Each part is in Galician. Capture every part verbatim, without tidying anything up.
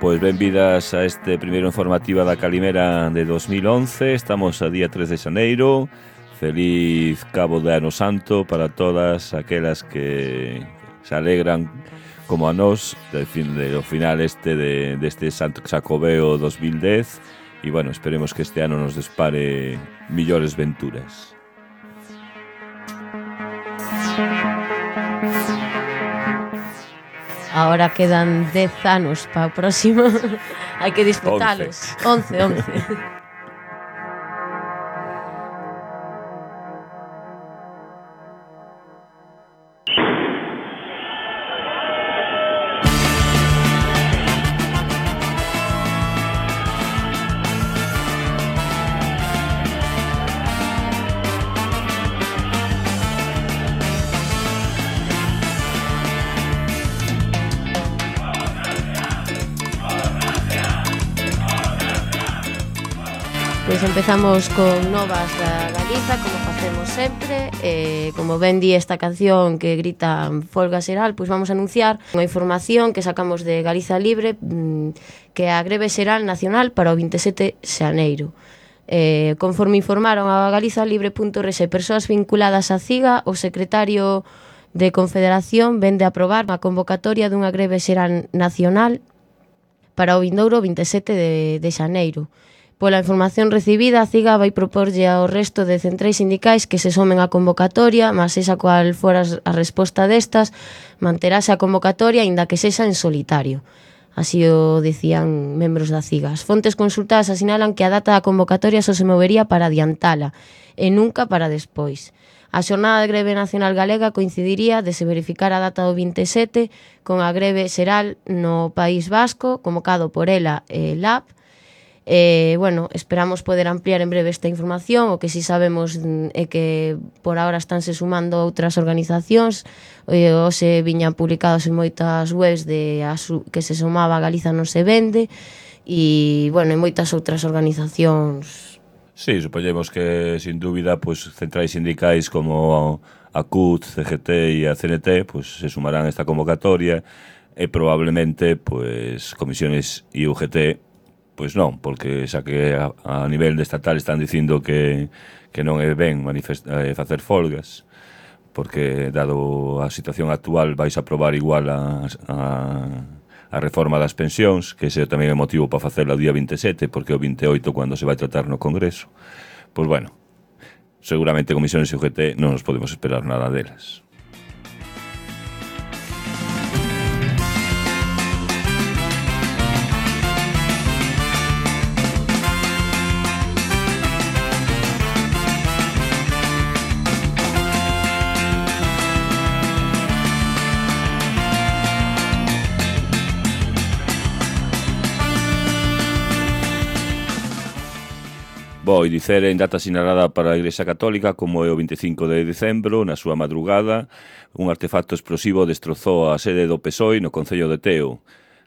Pois benvidas a este primeiro informativa da Calimera de dos mil once. Estamos a día tres de xaneiro. Feliz Cabo de Ano Santo para todas aquelas que se alegran como a nós do fin, de, do final este de, deste Santo Xacobeo dos mil dez. E bueno, esperemos que este ano nos despare millores venturas. Ahora quedan dez anos para o próximo. Hai que disfrutalos. once, once. Pois empezamos con novas da Galiza, como facemos sempre. eh, Como ben di esta canción que grita Folga Xeral, pois vamos a anunciar unha información que sacamos de Galiza Libre, que é a greve xeral nacional para o vinte e sete de xaneiro. eh, Conforme informaron a galizalibre punto org persoas vinculadas á CIGA, o secretario de Confederación vende a aprobar a convocatoria dunha greve xeral nacional para o vindouro vinte e sete de, de xaneiro. Pola información recibida, a CIGA vai proporlle ao resto de centrais sindicais que se somen á convocatoria, mas esa cual fora a resposta destas, manterase a convocatoria aínda que sexa en solitario. Así o decían membros da CIGA. As fontes consultadas asinalan que a data da convocatoria só se movería para adiantala e nunca para despois. A xornada de greve nacional galega coincidiría de se verificar a data do vinte e sete con a greve xeral no País Vasco, convocado por ela e L A B. Eh, bueno, esperamos poder ampliar en breve esta información. O que si sabemos é que por ahora estánse sumando outras organizacións. eh, Hoxe viñan publicados en moitas webs de asu, que se sumaba a Galiza non se vende. E, bueno, en moitas outras organizacións. Sí, supoñemos que, sin dúbida, pues, centrais sindicais como a C U T, C G T e a C N T pues, se sumarán a esta convocatoria e probablemente pues, comisiones e U G T pois non, porque xa que a, a nivel de estatal están dicindo que, que non é ben eh, facer folgas, porque dado a situación actual vais a aprobar igual a, a, a reforma das pensións, que ese tamén é motivo para facela o día vinte e sete, porque o vinte e oito cando se vai tratar no Congreso. Pois bueno, seguramente comisiones e U G T non nos podemos esperar nada delas. Vou dicer en data sinalada para a Igrexa Católica como é o vinte e cinco de decembro, na súa madrugada, un artefacto explosivo destrozou a sede do P S O E no Concello de Teo.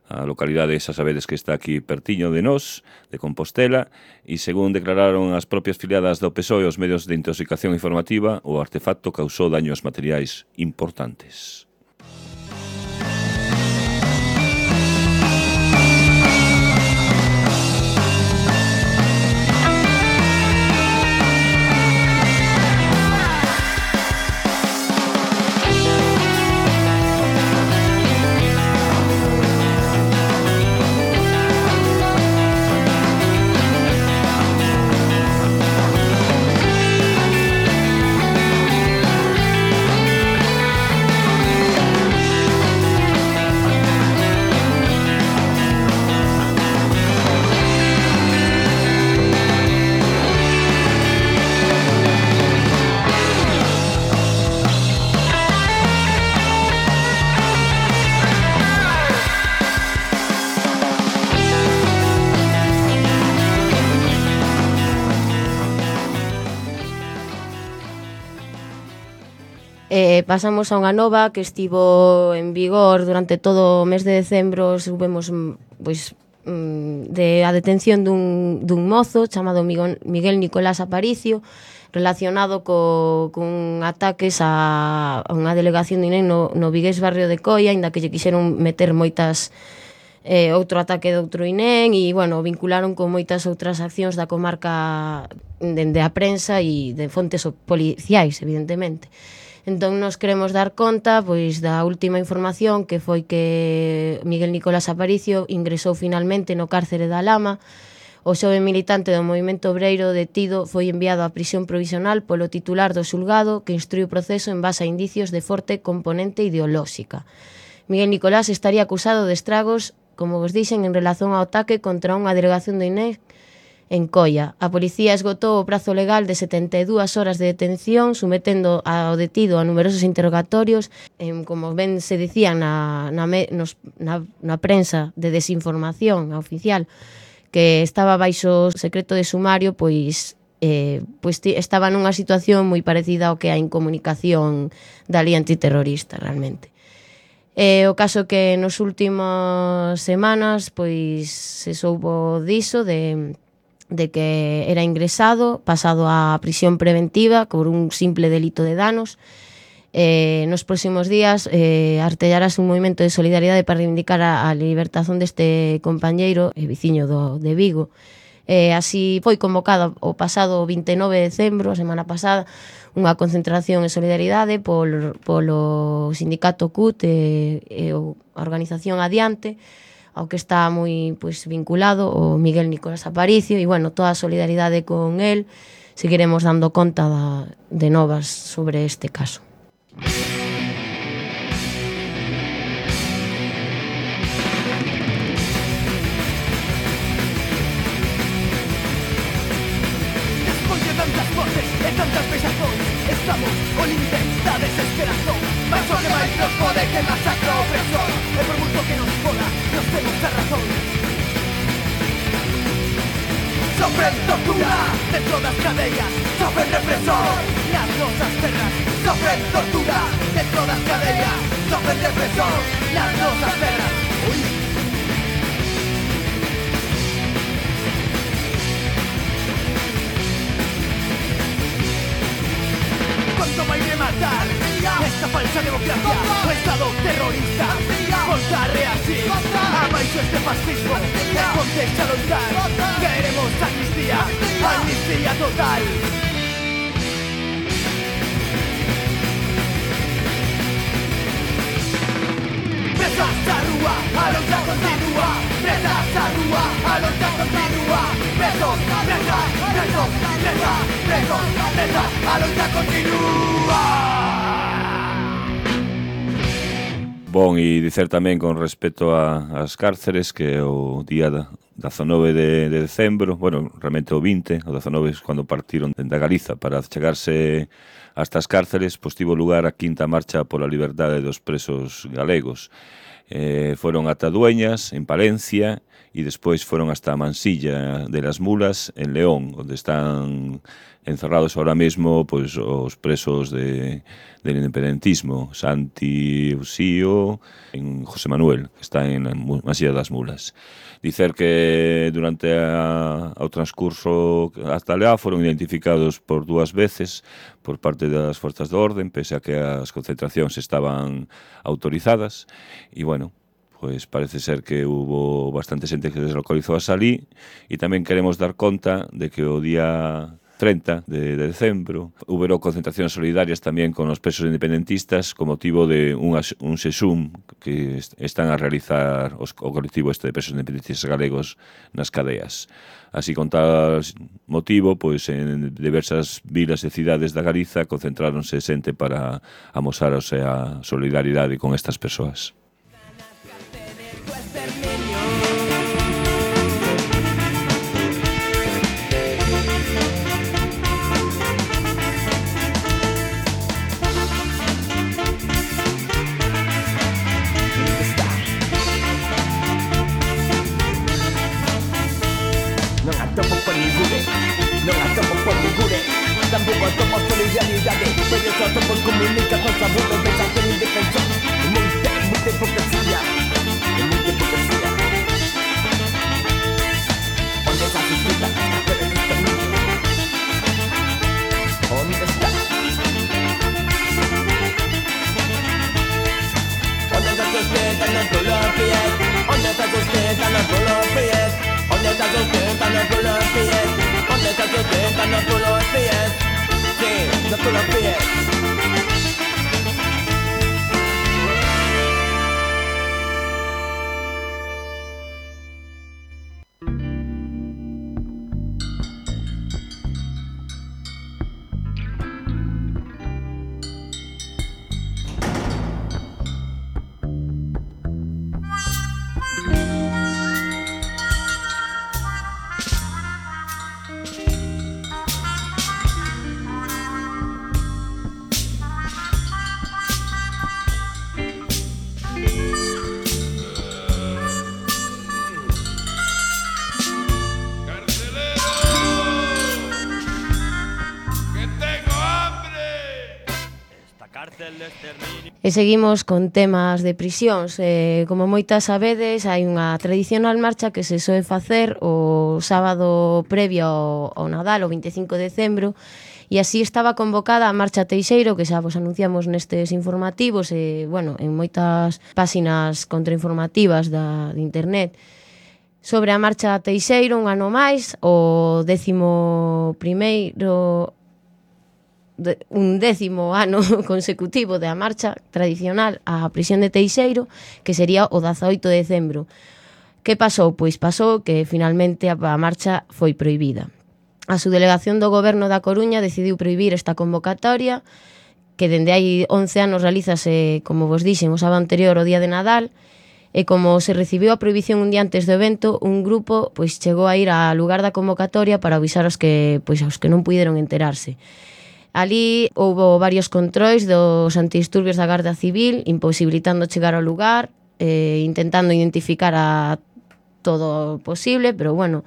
A localidade, xa sabedes que está aquí pertiño de nós, de Compostela, e según declararon as propias filiadas do P S O E aos medios de intoxicación informativa, o artefacto causou daños materiais importantes. Eh, pasamos a unha nova que estivo en vigor durante todo o mes de decembro. Subimos pois, de a detención dun, dun mozo chamado Miguel, Miguel Nicolás Aparicio, relacionado co, con ataques a, a unha delegación de I N E no, no vigués barrio de Coia, ainda que lle quixeron meter moitas eh, outro ataque de outro I N E, e, bueno, vincularon con moitas outras accións da comarca dende a prensa e de fontes policiais, evidentemente. Entón, nos queremos dar conta pois da última información, que foi que Miguel Nicolás Aparicio ingresou finalmente no cárcere da Lama. O xove militante do movimento obreiro detido foi enviado á prisión provisional polo titular do xulgado, que instrui o proceso en base a indicios de forte componente ideolóxica. Miguel Nicolás estaría acusado de estragos, como vos dixen, en relación ao ataque contra unha delegación do I N E en Coia. A policía esgotou o prazo legal de setenta e dúas horas de detención, sometendo ao detido a numerosos interrogatorios, en, como ben se dicía na, na, nos, na, na prensa de desinformación oficial, que estaba baixo secreto de sumario, pois, eh, pois estaba nunha situación moi parecida ao que hai en comunicación da lei antiterrorista, realmente. Eh, o caso que nos últimos semanas pois se soubo diso de de que era ingresado, pasado á prisión preventiva por un simple delito de danos. Eh, nos próximos días eh, artellarase un movimento de solidariedade para reivindicar a, a libertación deste compañeiro e veciño do, de Vigo. Eh, así foi convocado o pasado vinte e nove de decembro, a semana pasada, unha concentración de solidariedade polo, polo sindicato C U T e, e a organización Adiante, ao que está moi pois, vinculado o Miguel Nicolás Aparicio, e, bueno, toda a solidaridade con el. Seguiremos dando conta da, de novas sobre este caso. Despois de tantas voces e tantas vexazóns, estamos o límite da desesperación. Mas o que máis nos pode que masacra o opresor, e por moito que nos poda, nos temos a razón. Sofren tortura dentro das cadeas, sofren represor nas nosas terras. Sofren tortura dentro das cadeas, sofren represor nas nosas terras. Uy. Cuánto vai rematar esta falsa democracia, o estado terrorista. Voltaré así abaixo este fascismo, e ponte a loitar. Queremos amnistía, amnistía total. Presas a rúa, a loita continúa. Presas a rúa, a loita continúa. Presos, presas, presos, presas, presos, presas, a loita continúa. Bon, e dicer tamén con respecto a, as cárceres que o día dezanove de, de decembro, bueno, realmente o vinte, o dezanove é cando partiron da Galiza para chegarse a estas cárceres, pois tivo lugar a quinta marcha pola liberdade dos presos galegos. Eh, foron ata Dueñas, en Palencia, e despois foron hasta Mansilla de las Mulas, en León, onde están encerrados ahora mesmo pois, os presos de, del independentismo, Santi Usío, en José Manuel, que está en Mansilla das Mulas. Dicer que durante a, o transcurso hasta Leá foron identificados por dúas veces por parte das forzas de orden, pese a que as concentracións estaban autorizadas, e, bueno, pois parece ser que hubo bastante xente que deslocalizou a salí, e tamén queremos dar conta de que o día treinta de decembro hubo concentracións solidarias tamén con os presos independentistas con motivo de un, un sesum que están a realizar os, o colectivo este de presos independentistas galegos nas cadeas. Así, con tal motivo, pois en diversas vilas e cidades da Galiza concentráronse xente para amosar a sea, solidaridade con estas persoas. Tampoco somos solidaridade, pero só somos comunicación, sabudos, pensación indefensión. Muita, muita hipocresía, muita hipocresía. E seguimos con temas de prisións. Eh, como moitas sabedes, hai unha tradicional marcha que se soe facer o sábado previo ao, ao Nadal, o vinte e cinco de decembro, e así estaba convocada a Marcha Teixeiro, que xa vos anunciamos nestes informativos e, bueno, en moitas páxinas contrainformativas da, de internet, sobre a Marcha Teixeiro, un ano máis, o décimo primeiro... un décimo ano consecutivo da marcha tradicional á prisión de Teixeiro, que sería o dezaoito de decembro. Que pasou? Pois pasou que finalmente a marcha foi prohibida. A subdelegación do Goberno da Coruña decidiu prohibir esta convocatoria, que dende hai once anos realízase, como vos dixen, o sábado anterior ao día de Nadal, e como se recibiu a prohibición un día antes do evento, un grupo pois chegou a ir ao lugar da convocatoria para avisar aos que, pois, aos que non puideron enterarse. Ali houbo varios controis dos antidisturbios da Garda Civil, imposibilitando chegar ao lugar, eh, intentando identificar a todo posible, pero bueno,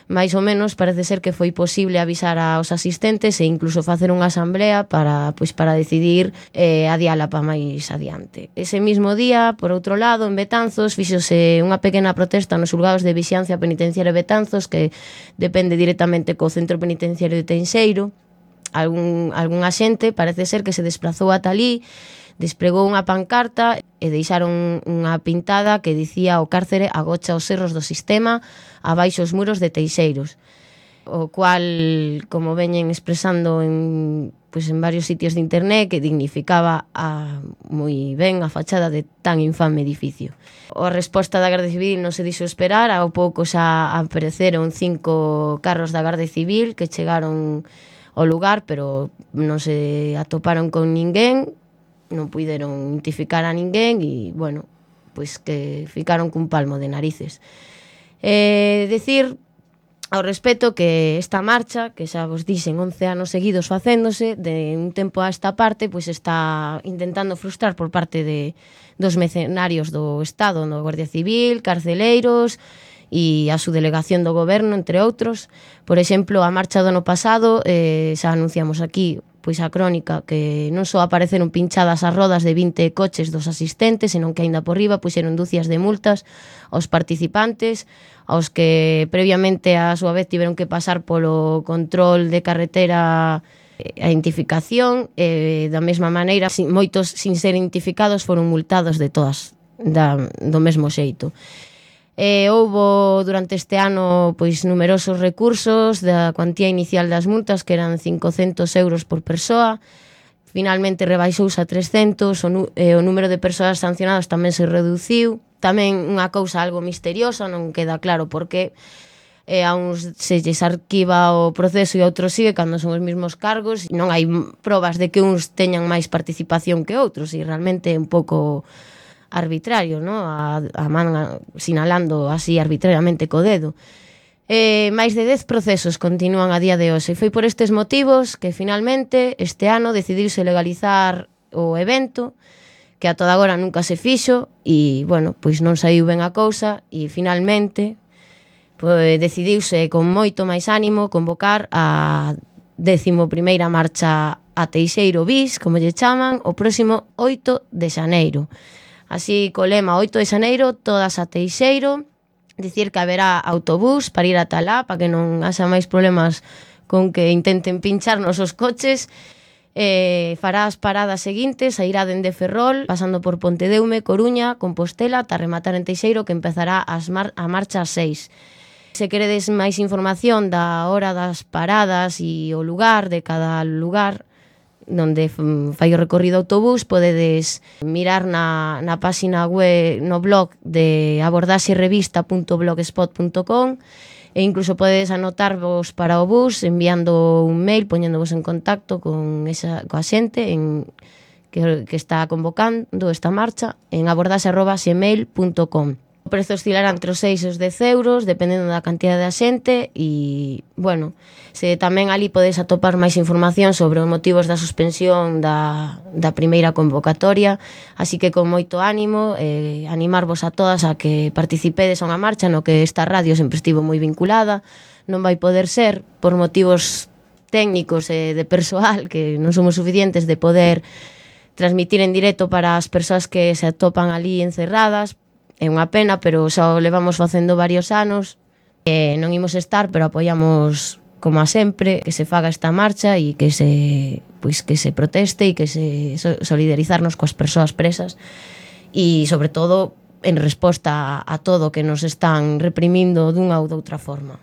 máis ou menos parece ser que foi posible avisar aos asistentes e incluso facer unha asamblea para, pois, para decidir eh, adiala para máis adiante. Ese mismo día, por outro lado, en Betanzos, fíxose unha pequena protesta nos xulgados de vixiancia penitenciaria de Betanzos, que depende directamente co centro penitenciario de Teixeiro. Algún, algún axente parece ser que se desplazou ata ali, despregou unha pancarta e deixaron unha pintada que dicía: o cárcere agocha os erros do sistema abaixo os muros de Teixeiros, o cual, como veñen expresando en, pues, en varios sitios de internet, que dignificaba a, moi ben a fachada de tan infame edificio. A resposta da Garda Civil non se dixo esperar, ao pouco xa apareceron cinco carros da Garda Civil que chegaron ao lugar, pero non se atoparon con ninguén, non puideron identificar a ninguén e, bueno, pois que ficaron cun palmo de narices. Eh, decir ao respecto que esta marcha, que xa vos dixen once anos seguidos facéndose, de un tempo a esta parte, pois está intentando frustrar por parte de dos mercenarios do Estado, no Guardia Civil, carceleiros e a subdelegación do Goberno, entre outros. Por exemplo, a marcha do ano pasado, eh, xa anunciamos aquí pois a crónica, que non só apareceron pinchadas as rodas de vinte coches dos asistentes, senón que aínda por riba puxeron dúcias de multas aos participantes, aos que previamente a súa vez tiveron que pasar polo control de carretera, a identificación, e da mesma maneira, moitos sin ser identificados foron multados de todas, da, do mesmo xeito. Eh, houbo durante este ano pois numerosos recursos da cuantía inicial das multas, que eran cincocentos euros por persoa. Finalmente rebaixouse a trescentos, o, nu- eh, o número de persoas sancionadas tamén se reduciu. Tamén unha cousa algo misteriosa, non queda claro por qué eh, a uns se lles arquiva o proceso e a outros sigue cando son os mesmos cargos. Non hai probas de que uns teñan máis participación que outros, e realmente é un pouco arbitrario, ¿no? A, a man sinalando así arbitrariamente co dedo. Eh, máis de dez procesos continúan a día de hoxe, e foi por estes motivos que finalmente este ano decidiuse legalizar o evento, que a toda agora nunca se fixo, e, bueno, pois non saiu ben a cousa, e finalmente pois, decidiuse con moito máis ánimo convocar a décimo primeira marcha a Teixeiro bis, como lle chaman, o próximo oito de xaneiro. Así, co lema oito de xaneiro, todas a Teixeiro. Dicir que haberá autobús para ir ata lá, para que non haxa máis problemas con que intenten pincharnos os coches. Eh, fará as paradas seguintes, a irá dende Ferrol, pasando por Pontedeume, Coruña, Compostela, ata rematar en Teixeiro, que empezará as mar- a marcha ás seis. Se queredes máis información da hora das paradas e o lugar de cada lugar donde fai o recorrido autobús, podedes mirar na, na página web, no blog de abordaxerevista punto blogspot punto com, e incluso podedes anotarvos para o bus enviando un mail, poñéndovos en contacto con esa, coa xente en, que, que está convocando esta marcha en abordaxe arroba gmail punto com. O prezo oscilará entre os seis e os dez euros, dependendo da cantidad de xente, e, bueno, se tamén ali podes atopar máis información sobre os motivos da suspensión da, da primeira convocatoria, así que con moito ánimo, eh, animarvos a todas a que participedes a unha marcha no que esta radio sempre estivo moi vinculada. Non vai poder ser, por motivos técnicos e de persoal, que non somos suficientes de poder transmitir en directo para as persoas que se atopan ali encerradas. É unha pena, pero xa o levamos facendo varios anos. Eh, non imos estar, pero apoiamos como a sempre que se faga esta marcha e que se, pois, que se proteste e que se solidarizarnos coas persoas presas e, sobre todo, en resposta a, a todo que nos están reprimindo dunha ou doutra forma.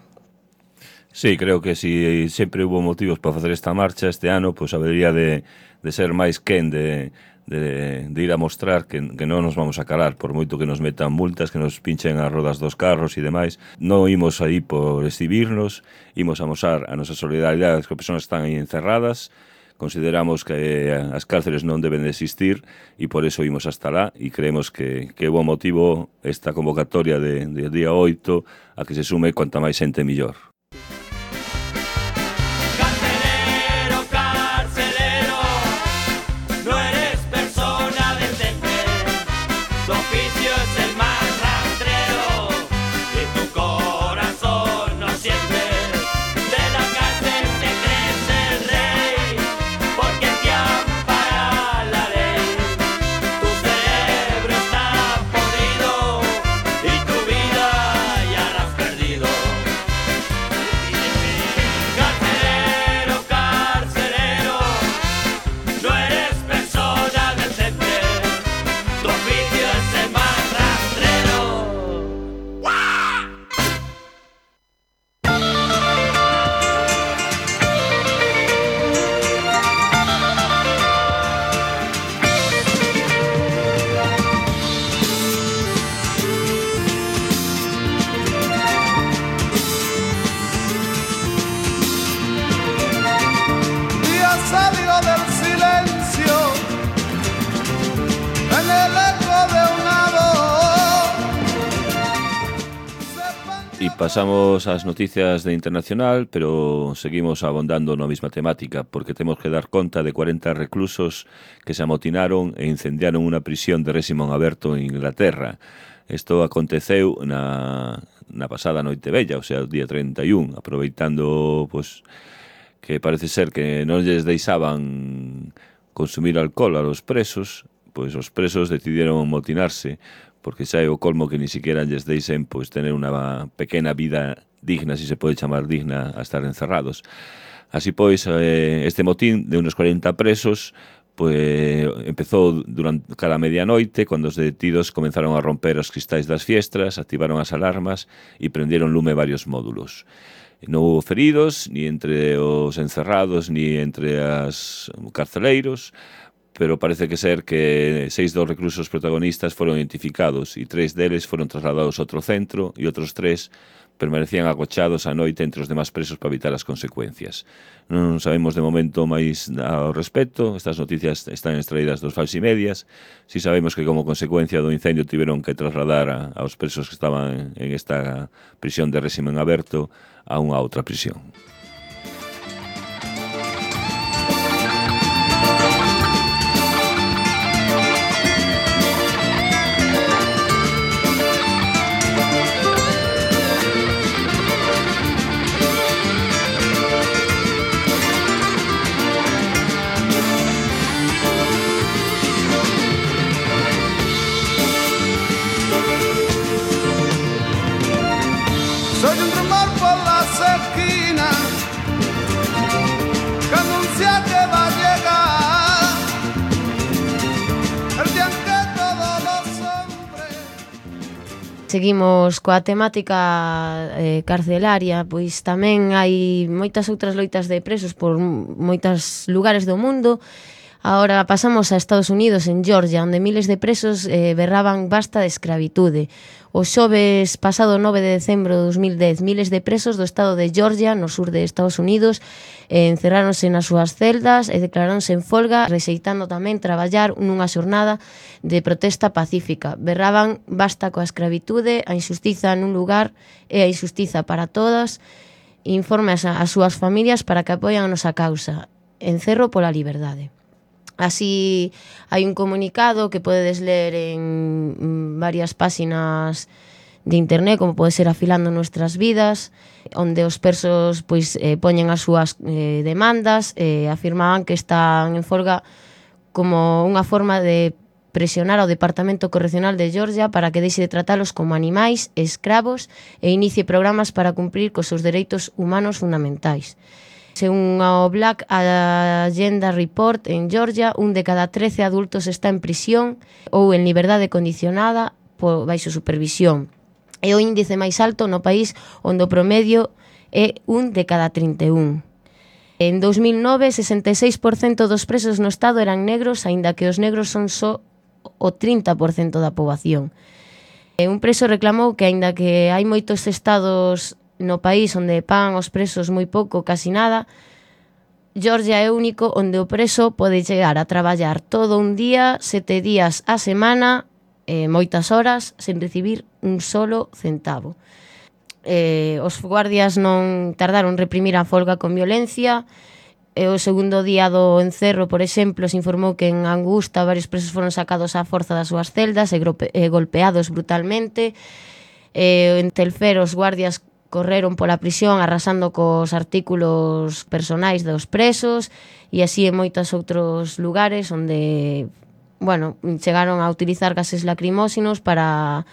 Sí, creo que si sempre hubo motivos para facer esta marcha este ano, pois habería de, de ser máis quen de, de, de ir a mostrar que, que non nos vamos a calar, por moito que nos metan multas, que nos pinchen as rodas dos carros e demais. Non imos aí por exhibirnos, imos a mostrar a nosa solidaridade que as persoas están aí encerradas. Consideramos que as cárceles non deben de existir e por eso imos hasta lá e creemos que, que é bo motivo esta convocatoria de, de día oito a que se sume cuanta máis xente millor. Pasamos ás noticias de internacional, pero seguimos abondando na mesma temática, porque temos que dar conta de cuarenta reclusos que se amotinaron e incendiaron unha prisión de réxime aberto en Inglaterra. Isto aconteceu na, na pasada noite bella, o sea, o día trinta e un, aproveitando, pues, que parece ser que non lles deixaban consumir alcohol a los presos, pois os presos decidieron amotinarse, porque xa é o colmo que ni siquiera lles deixen pois, tener unha pequena vida digna, si se pode chamar digna, a estar encerrados. Así pois, eh, este motín de unos cuarenta presos pois, empezou durante cada medianoite, cando os detidos comenzaron a romper os cristais das fiestras, activaron as alarmas e prendieron lume varios módulos. Non houve feridos, ni entre os encerrados, ni entre as carceleiros, pero parece que ser que seis dos reclusos protagonistas foron identificados e tres deles foron trasladados a outro centro e outros tres permanecían agochados a noite entre os demás presos para evitar as consecuencias. Non sabemos de momento máis ao respecto, estas noticias están extraídas dos falsimedias, si sabemos que como consecuencia do incendio tiveron que trasladar a, aos presos que estaban en esta prisión de réxime aberto a unha outra prisión. Seguimos coa temática eh, carcelaria, pois tamén hai moitas outras loitas de presos por moitos lugares do mundo. Ahora pasamos a Estados Unidos, en Georgia, onde miles de presos eh, berraban basta de escravitude. O xoves pasado nove de decembro de dos mil dez, miles de presos do estado de Georgia, no sur de Estados Unidos, eh, encerráronse nas súas celdas e declaráronse en folga, rexeitando tamén traballar nunha xornada de protesta pacífica. Berraban basta coa escravitude, a injustiza nun lugar e a injustiza para todas. Informe as, as súas familias para que apoian a nosa causa. Encerro pola liberdade. Así hai un comunicado que podedes ler en varias páxinas de internet, como pode ser Afilando Nuestras Vidas, onde os presos pois, eh, poñen as súas eh, demandas, eh, afirmaban que están en folga como unha forma de presionar ao Departamento Correccional de Georgia para que deixe de tratalos como animais, escravos e inicie programas para cumprir cos seus dereitos humanos fundamentais. Según o Black Agenda Report, en Georgia, un de cada trece adultos está en prisión ou en liberdade condicionada por baixo supervisión. É o índice máis alto no país onde o promedio é un de cada trinta e un. En dous mil nove, sesenta e seis por cento dos presos no Estado eran negros, aínda que os negros son só o trinta por cento da poboación. Un preso reclamou que, aínda que hai moitos estados no país onde pagan os presos moi pouco, casi nada, Georgia é o único onde o preso pode chegar a traballar todo un día, sete días a semana, eh, moitas horas, sen recibir un solo centavo. Eh, os guardias non tardaron en reprimir a folga con violencia. E o segundo día do encerro, por exemplo, se informou que en Angusta varios presos foron sacados á forza das súas celdas e, grope, e golpeados brutalmente. E en Telfer os guardias correron pola prisión arrasando cos artículos personais dos presos, e así en moitos outros lugares onde, bueno, chegaron a utilizar gases lacrimóxenos para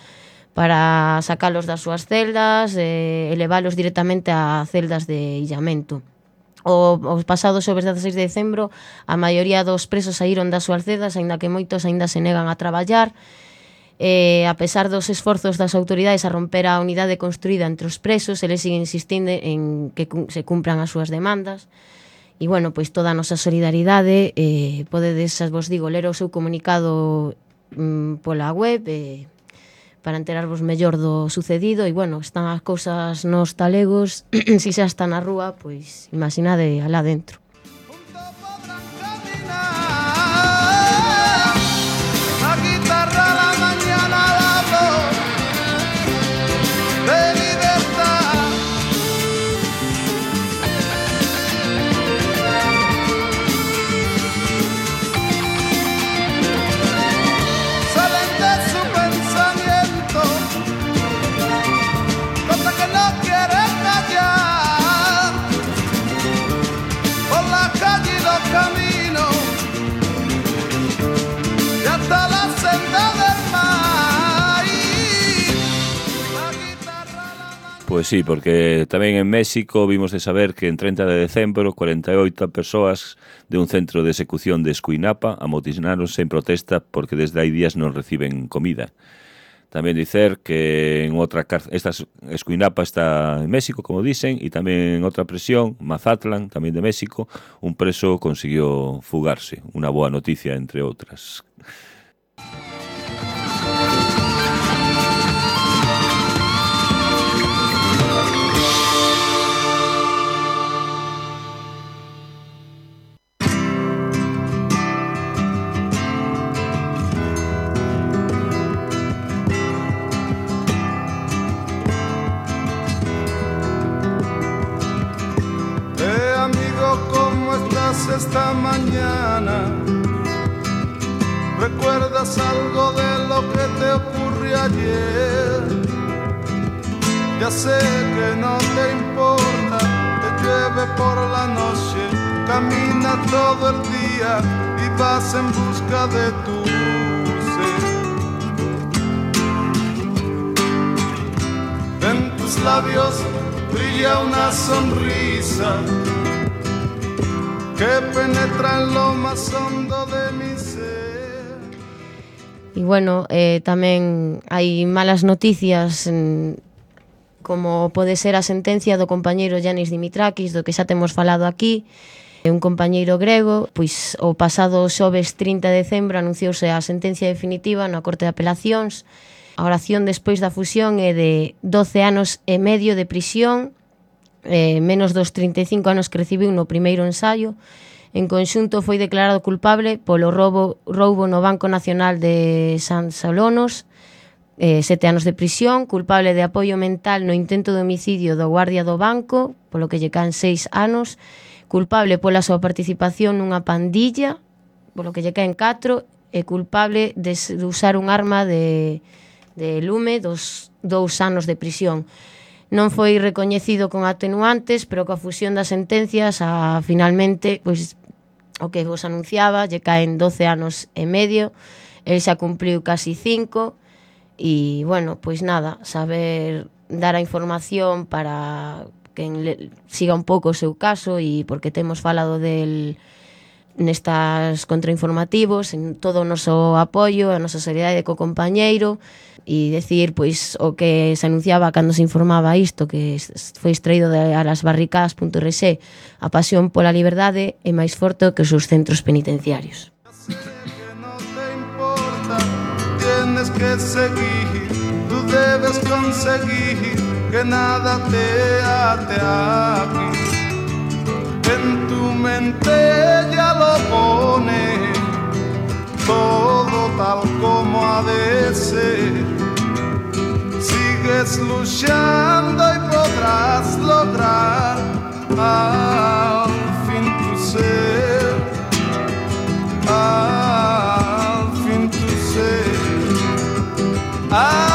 para sacalos das súas celdas e elevalos directamente a celdas de illamento. O, o pasado xoves dezaseis de decembro, a maioría dos presos saíron das súas celdas, aínda que moitos aínda se negan a traballar. Eh, a pesar dos esforzos das autoridades a romper a unidade construída entre os presos, eles siguen insistindo en que se cumpran as súas demandas. E, bueno, pois toda a nosa solidaridade, eh, podedes, vos digo, ler o seu comunicado mm, pola web, eh, para enterarvos mellor do sucedido. E, bueno, están as cousas nos talegos, si xa está na rúa, pois imaginade alá dentro. Pois sí, porque tamén en México vimos de saber que en treinta de decembro cuarenta e oito persoas de un centro de execución de Escuinapa amotinaronse en protesta porque desde hai días non reciben comida. Tamén dicer que en outra cárcel, esta Escuinapa está en México, como dicen, e tamén en outra prisión, Mazatlán, tamén de México, un preso consiguió fugarse. Unha boa noticia, entre outras. Esta mañana, ¿recuerdas algo de lo que te ocurrió ayer? Ya sé que no te importa, te llueve por la noche, camina todo el día y vas en busca de tu ser. En tus labios brilla una sonrisa que penetra en lo más hondo de mi ser. E, bueno, eh, tamén hai malas noticias, en, como pode ser a sentencia do compañeiro Yanis Dimitrakis, do que xa temos falado aquí. Un compañeiro grego, pois o pasado xoves trinta de decembro anunciouse a sentencia definitiva na Corte de Apelacións. A oración despois da fusión é de doce anos e medio de prisión, Eh, menos dos trinta e cinco anos que recibiu no primeiro ensaio. En conxunto foi declarado culpable polo roubo, roubo no Banco Nacional de San Solonos, eh, sete anos de prisión, culpable de apoio mental no intento de homicidio do guardia do banco, polo que lle caen seis anos, culpable pola súa participación nunha pandilla, polo que lle caen catro, e culpable de, de usar un arma de, de lume, dos dous anos de prisión. Non foi recoñecido con atenuantes, pero coa fusión das sentencias, a, finalmente, pois, o que vos anunciaba, lle caen doce anos e medio, el xa cumpliu casi cinco, e, bueno, pois nada, saber dar a información para que le, siga un pouco o seu caso, e porque temos falado del nestas contrainformativos, en todo o noso apoio, a nosa solidaridade co compañeiro, e decir, pois, o que se anunciaba cando se informaba isto, que foi extraído de alasbarricadas punto r s, a pasión pola liberdade é máis forte que os seus centros penitenciarios. Tienes que seguir, tú debes conseguir que nada te ate aquí. En tu mente ya lo pone todo tal como ha de ser. Sigues luchando y podrás lograr al fin tu ser, al fin tu ser. Ah.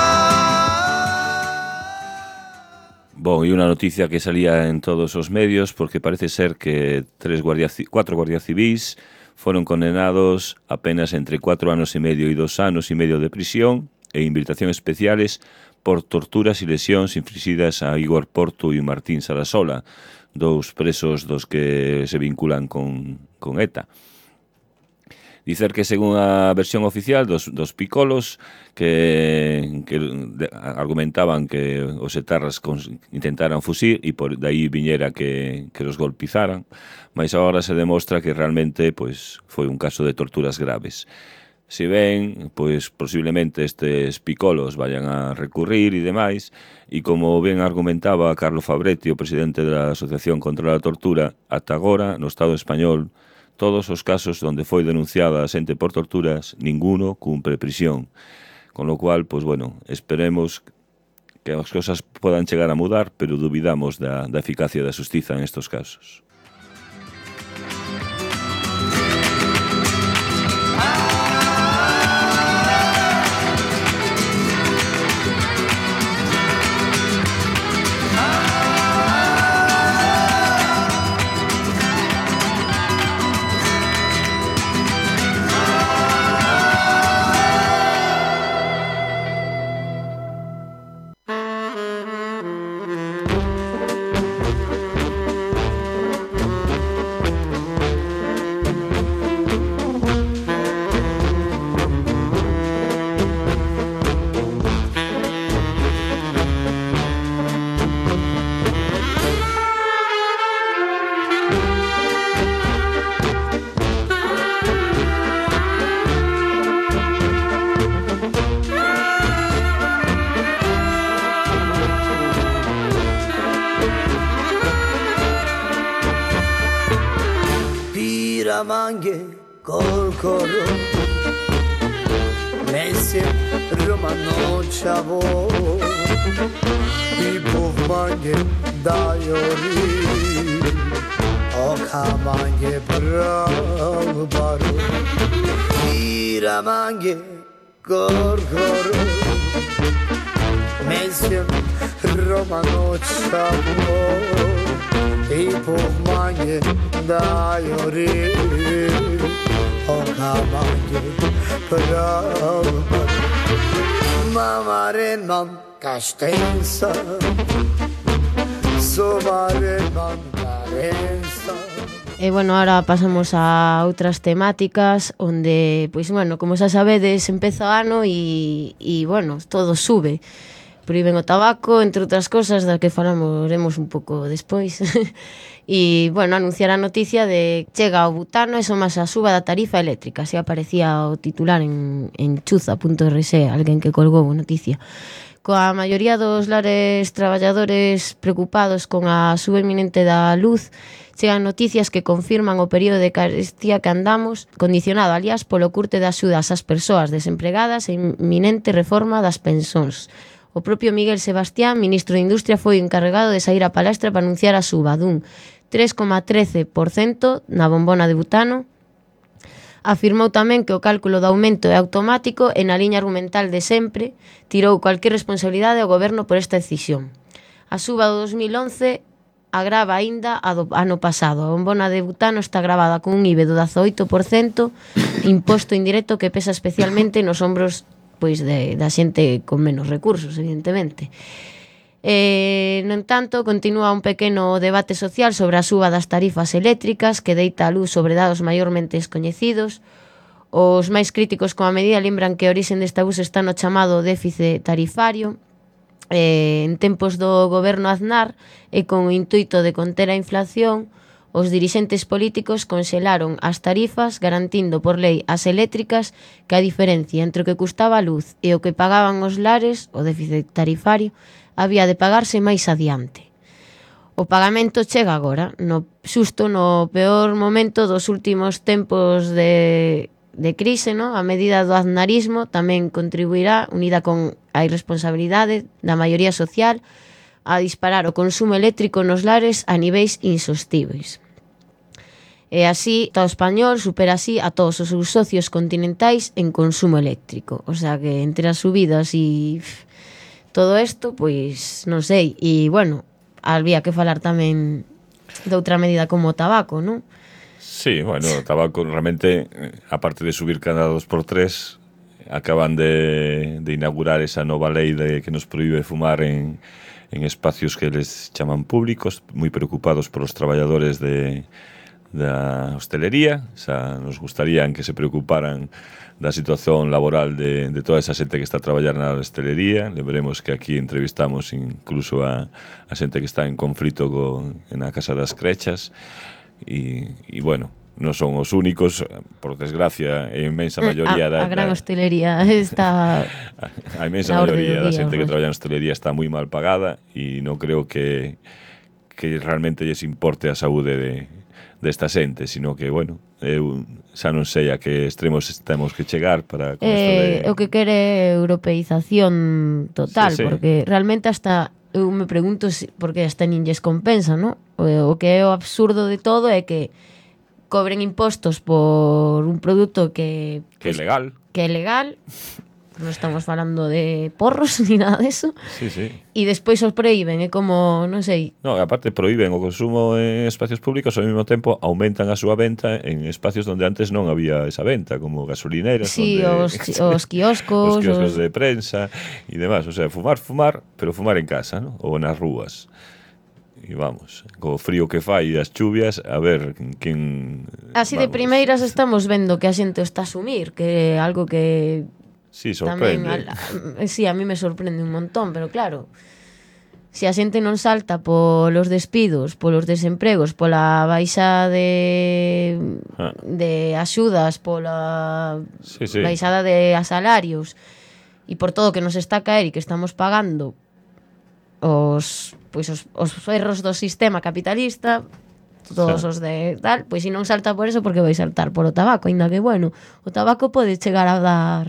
Bon, e unha noticia que salía en todos os medios, porque parece ser que tres guardias, cuatro guardias civis foron condenados apenas entre cuatro anos e medio e dos anos e medio de prisión e invitación especiales por torturas e lesións inflixidas a Igor Porto e Martín Sarasola, dous presos dos que se vinculan con, con ETA. Dicer que, según a versión oficial dos, dos picolos, que, que argumentaban que os etarras intentaran fusir e por de aí viñera que, que los golpizaran, mas agora se demostra que realmente pois, foi un caso de torturas graves. Se ben, pois posiblemente estes picolos vayan a recurrir e demais, e como ben argumentaba Carlos Fabretti, o presidente da Asociación contra a Tortura, ata agora, no Estado español, todos os casos onde foi denunciada a xente por torturas, ninguno cumpre prisión. Con lo cual, pois bueno, esperemos que as cosas podan chegar a mudar, pero dubidamos da, da eficacia da xustiza en estos casos. Mange korkoro Messi Romano Chavo Ipo mange dajori Oka mange bravbaro Ira mange korkoro Messi Romano Chavo Ipo mange dajori Oka mange bravbaro Mamare non castenza Somare non carenza. E, bueno, ahora pasamos a outras temáticas onde, pois, bueno, como xa sabedes, empeza o ano e, e bueno, todo sube. Proíben o tabaco, entre outras cosas, das que falaremos un pouco despois. E, bueno, anunciar a noticia de chega ao butano e somas a suba da tarifa eléctrica. Así aparecía o titular en, en chuza punto r s, alguén que colgou a noticia. Coa maioría dos lares traballadores preocupados con a suba inminente da luz, chegan noticias que confirman o período de carestía que andamos, condicionado, aliás, polo curte de axudas ás persoas desempregadas e inminente reforma das pensións. O propio Miguel Sebastián, ministro de Industria, foi encarregado de sair a palestra para anunciar a suba dun tres coma trece por cento na bombona de butano. Afirmou tamén que o cálculo do aumento é automático e na liña argumental de sempre tirou cualquier responsabilidade ao goberno por esta decisión. A suba do dos mil once agrava aínda a do ano pasado. A bombona de butano está gravada con un I V A do dezaoito por cento, imposto indirecto que pesa especialmente nos ombros pois de, da xente con menos recursos, evidentemente. Eh, no entanto, continúa un pequeno debate social sobre a suba das tarifas eléctricas que deita a luz sobre dados maiormente descoñecidos. Os máis críticos con a medida lembran que a orixe deste abuso está no chamado déficit tarifario. Eh, en tempos do goberno Aznar e con o intuito de conter a inflación, os dirixentes políticos conxelaron as tarifas garantindo por lei as eléctricas que a diferencia entre o que custaba a luz e o que pagaban os lares, o déficit tarifario, había de pagarse máis adiante. O pagamento chega agora, no xusto no peor momento dos últimos tempos de, de crise, no? A medida do aznarismo tamén contribuirá, unida con a irresponsabilidade da maioría social, a disparar o consumo eléctrico nos lares a niveis insostíveis. E así, todo español supera así a todos os seus socios continentais en consumo eléctrico. O sea que entre as subidas e pff, todo isto, pois non sei. E, bueno, había que falar tamén de outra medida como o tabaco, non? Sí, bueno, o tabaco realmente, aparte de subir cada dos por tres, acaban de, de inaugurar esa nova lei de que nos prohíbe fumar en, en espacios que les chaman públicos, moi preocupados por os traballadores de, da hostelería. O sea, nos gustarían que se preocuparan da situación laboral de, de toda esa xente que está a traballar na hostelería. Le veremos que aquí entrevistamos incluso a, a xente que está en conflito con, na Casa das Crechas e, e bueno, non son os únicos, por desgracia, a inmensa maioría a, da, a gran hostelería está a, a inmensa maioría da xente que traballa en hostelería está moi mal pagada e non creo que que realmente lles importe a saúde de desta xente, sino que, bueno, eu xa non sei a que extremos temos que chegar para con eh, de... o que quere europeización total, sí, sí. Porque realmente hasta eu me pregunto si, porque hasta nin lles compensa, ¿no? O, o que é o absurdo de todo é que cobren impostos por un produto que... Que é legal. Que é legal. Non estamos falando de porros ni nada deso. Sí, sí. E despois os proíben, é como, non sei... No, aparte proíben o consumo en espacios públicos, ao mesmo tempo aumentan a súa venta en espacios onde antes non había esa venta, como gasolineras, sí, onde... os, os quioscos... os quioscos os... de prensa e demás. O sea, fumar, fumar, pero fumar en casa, ¿no? Ou nas rúas. E vamos, co frío que fai e as chuvias, a ver quen... Así vamos. De primeiras estamos vendo que a xente o está a asumir, que é algo que... Sí, sorprende. Tamén, a, sí, a mí me sorprende un montón, pero claro, se a xente non salta polos despidos, polos desempregos, pola baixa de ah. de axudas, pola sí, sí. baixada de salarios e por todo que nos está a caer e que estamos pagando os pois os, os erros do sistema capitalista, todos sí. Os de tal, pois se non salta por eso, porque vai saltar por o tabaco, aínda que bueno, o tabaco pode chegar a dar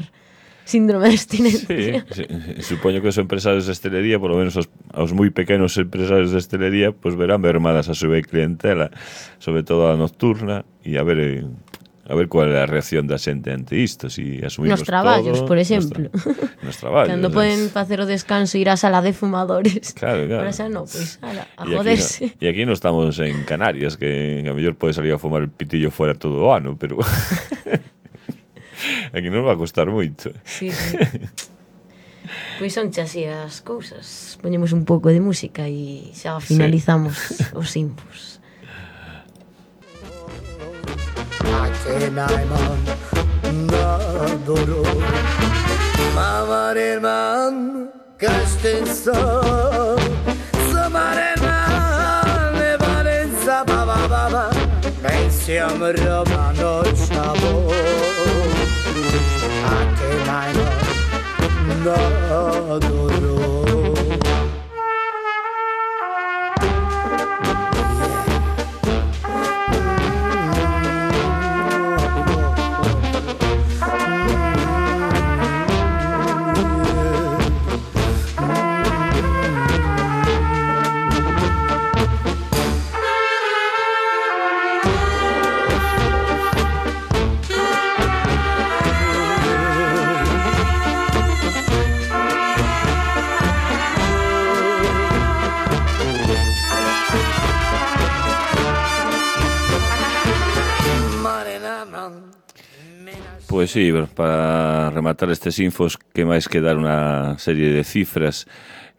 síndrome de abstinencia. Sí, sí, supoño que os empresarios de hostelería, por lo menos os, os moi pequenos empresarios de hostelería, pues verán mermadas a súa clientela, sobre todo a nocturna, e a ver a ver cuál é a reacción da xente ante isto, si asumimos nos traballos, todo, por exemplo. Nos, nos traballos. Cando poden facer o descanso ir á sala de fumadores. Claro, claro. Para xa non, pois, ala, a y joderse. Aquí no, e aquí non estamos en Canarias, que a mellor pode salir a fumar el pitillo fuera todo o ano, pero aquí non va a costar moito. Sí, sí. Pois son xa así as cousas. Poñemos un pouco de música e xa finalizamos sí. Os impos. Akenaiman nadoro Mamareman kastensa Samareman Valenza baba baba Pensiam romano chavo Akenaiman nadoro Pois sí, para rematar estes infos, que máis que dar unha serie de cifras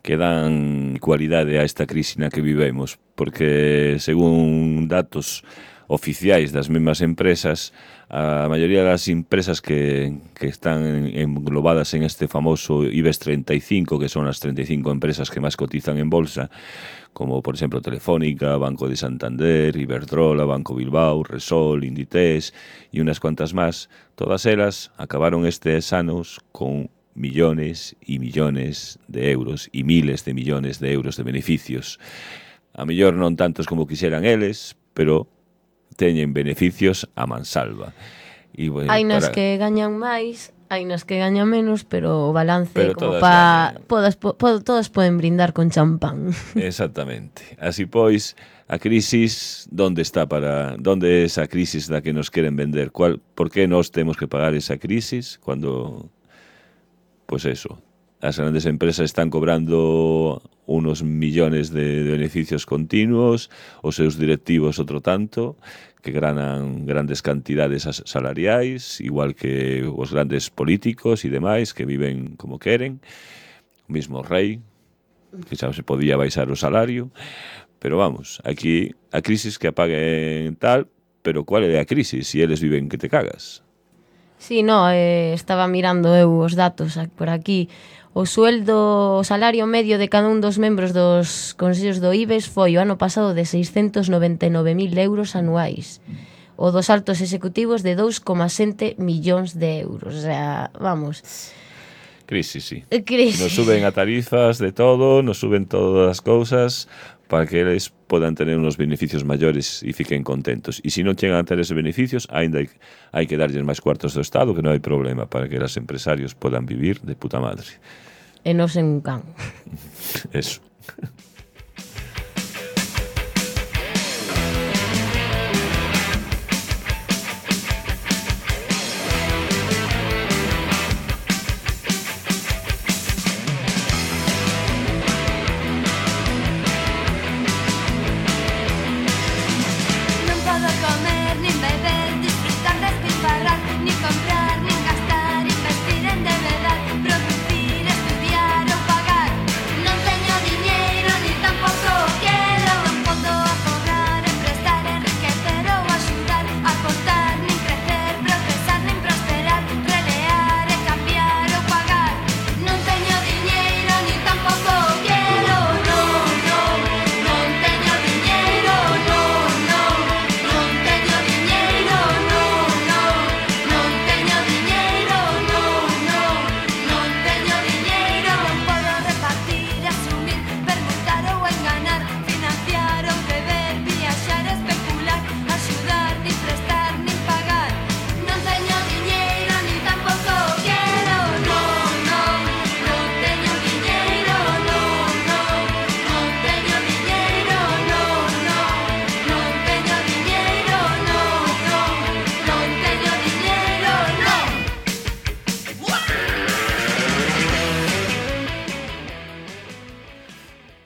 que dan cualidade a esta crise na que vivemos, porque según datos oficiais das mesmas empresas, a maioría das empresas que, que están englobadas en este famoso IBEX treinta y cinco, que son as treinta y cinco empresas que máis cotizan en bolsa, como por exemplo Telefónica, Banco de Santander, Iberdrola, Banco Bilbao, Resol, Inditex e unas cuantas máis, todas elas acabaron estes anos con millones e millones de euros e miles de millones de euros de beneficios. A mellor non tantos como quixeran eles, pero teñen beneficios a mansalva. E, bueno, hai nas para... que gañan máis, hai nas que gañan menos, pero o balance pero como pa todas po, po, todos poden brindar con champán. Exactamente. Así pois, a crisis, onde está para onde é esa crisis da que nos queren vender? Cual, por que nós temos que pagar esa crisis cando pois eso, as grandes empresas están cobrando unos millones de beneficios continuos, os seus directivos outro tanto, que ganan grandes cantidades salariais, igual que os grandes políticos e demais, que viven como queren, o mismo rei, que xa se podía baixar o salario, pero vamos, aquí a crisis que apaguen tal, pero cual é a crisis? Se eles viven que te cagas. Sí, no, eh, estaba mirando eu os datos por aquí. O sueldo, o salario medio de cada un dos membros dos consellos do IBEX foi o ano pasado de seiscentos noventa e nove mil euros anuais. O dos altos executivos de dous coma sete millóns de euros. O sea, vamos... Crisis, sí. Crisis. Nos suben a tarifas de todo, nos suben todas as cousas para que eles podan tener unos beneficios maiores e fiquen contentos. E se non chegan a ter esos beneficios, ainda hai, hai que darlles máis cuartos do Estado, que non hai problema, para que os empresarios podan vivir de puta madre. E non sen un can. Eso.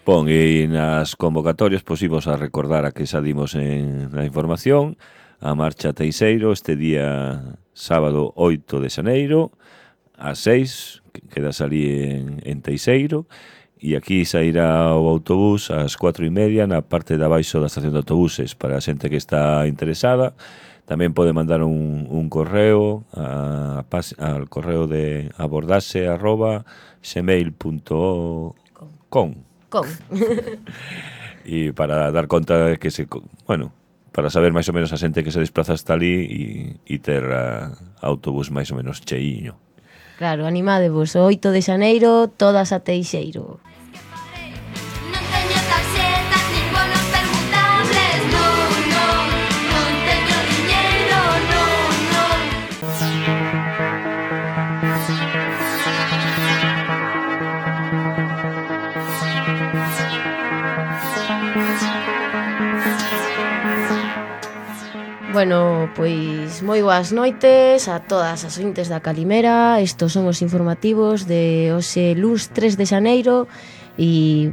Pon, e nas convocatorias pois imos a recordar a que xa dimos en na información a marcha Teixeiro este día sábado oito de xaneiro ás seis, que quedas ali en, en Teixeiro, e aquí sairá o autobús ás cuatro e media na parte de abaixo da estación de autobuses para a xente que está interesada. Tamén pode mandar un, un correo a, a, al correo de abordase arroba gmail punto com Con. E para dar conta de que se, bueno, para saber máis ou menos a xente que se desplaza hasta ali e, e ter a autobús máis ou menos cheiño. Claro, animadevos, o oito de xaneiro, todas a Teixeiro. Bueno, pois moi boas noites a todas as ointes da Calimera. Estos son os informativos de hoxe luns tres de xaneiro e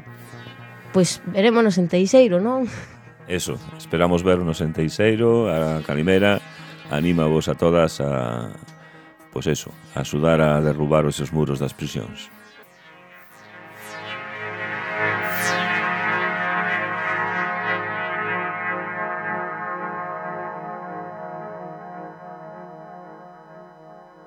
pois verémonos en Teixeiro, non? Eso, esperamos vernos en Teixeiro. A Calimera anima vos a todas a, pois eso, axudar a derrubar esos muros das prisións.